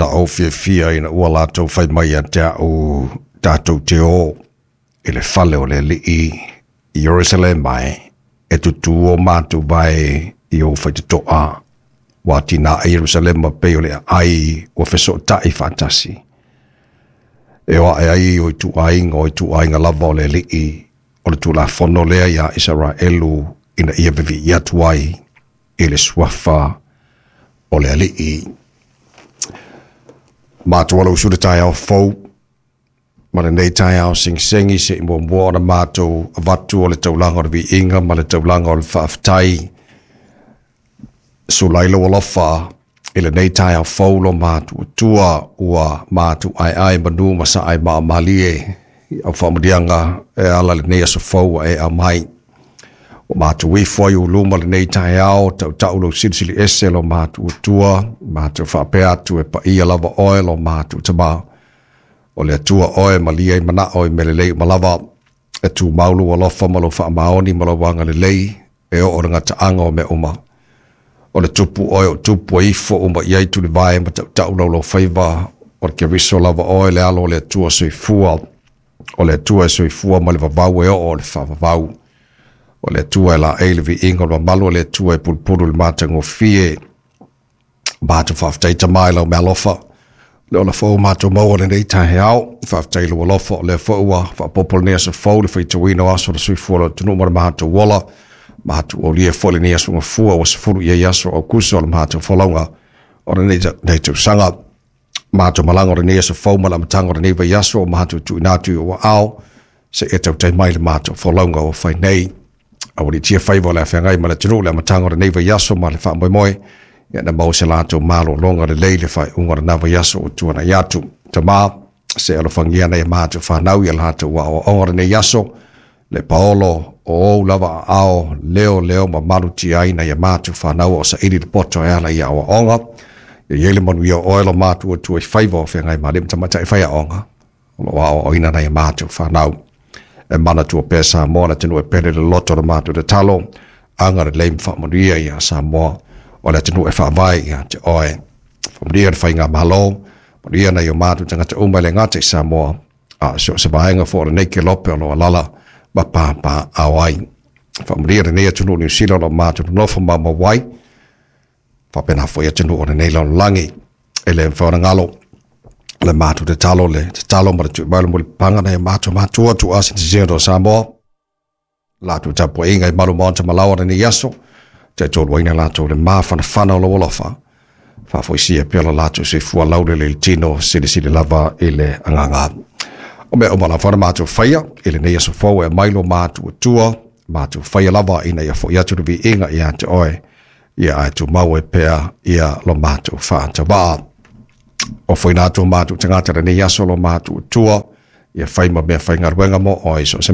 Ona ou fiafia ina ua latou fai mai ia te a'u, Tatou te o i le fale o le Alii i Ierusalema e e tutū o matou vae i ou faitotoa, ua atinae Ierusalema pei o le aai ua fesootai faatasi. E o ae ai o ituaiga o ituaiga lava o le Alii, o le Tulafono lea iā Isaraelu ina ia vivii atu ai i le suafa o le Alii. Matou alo usu le taeao fou, ma lenei taeao segisegi se i muamua ona matou avatu o le taulaga o le viiga ma le taulaga o le faafetai. Sula ai lou alofa i lenei taeao fou lo matou Atua ua matou aeae manu ma sae maomalie i au faamanuiaga e ala lenei aso fou ua e aumai. Ua matou ifo ai i ou luma lenei taeao, tautau lou silisili ese lo matou Atua, matou faapea atu e paia lava oe lo matou Tama. O le Atua oe malie ai manao i mea lelei uma lava, e tumau lou alofa ma lou faamaoni ma lou agalelei e oo i le gataaga o mea uma. O le Tupu oe o tupu e ifo uma i ai tulivae ma tautau laulaufaiva, o le Keriso lava oe le Alo o le Atua soifua, o le Atua e soifua mai le vavau e oo i le faavavau. O le Atua e laei le viiga o le mamalu, o le Atua e pulupulu i le matagofie. Matou faafetai Tama i lau meaalofa, le ola fou matou maua lenei taeao. Faafetai i lou alofa, o lea foi ua faaopoopo lenei aso fou, le faitauina o aso o le soifua o le atunuu ma le matou ola. Matou aulia foi lenei aso Gafua ua 10 i ai aso o Aukuso o le matou folauga o lenei tausaga. Matou malaga o lenei aso fou ma le amataga o lenei vaiaso o matou tuuina atu i ou aao, seia tautai mai le matou folauga ua fai nei. Aualiitia faiva o le a feagai ma le atunuu le amataga o lenei vaiaso ma le faamoemoe, ia na maua se latou malologa lelei le faaiuga o lena vaiaso ua tuanai atu. Tama, se alofagia nai a matou fanau ia latou aoaoga o lenei aso, le paolo o ou lava aao leo leo ma malutia ai nai a matou fanau o saili le poto e ala i aoaoga. Ia i ai le manuia o oe lo matou Atua i faiva o feagai ma alii ma tamaitai faiaoga o lo o aoaoina nai a matou fanau. E manatua pea Samoa le atunuu e pele le loto o le matou tatalo, agalelei ma faamanuia ia Samoa o le atunuu e faavae ia te oe. Faamanuia le faigamalo, manuia nai o matou tagata uma e le gata i Samoa, a o so o se vaega foi o lenei kelope o lo o alaala ma papaaao ai. Faamanuia lenei atunuu o Niu Sila o lo o matou nonofo maumau ai, faapena foi atunuu o lenei lalolagi. E le mafai ona galo le matou tatalo, le tatalo ma le tui mai o le mulipapaga nai o matou matua tuua sitiseni o Samoa, latou tapuaiga i malu maota ma laoa lenei aso, taitoluaina latou le mafanafana o lou alofa, faafoisia pea lo latou soifua laulele i le tino, silisili lava i le agaga. O mea uma lava na matou faia i lenei aso fou e aumai lo matou Atua, matou faia lava ina ia foi atu le viiga ia te oe, ia ae tumau ai pea ia lo matou faatavaa. O foina atu o matou tagata lenei aso lo matou Atua, ia fai ma mea faigaluega mo oe so o se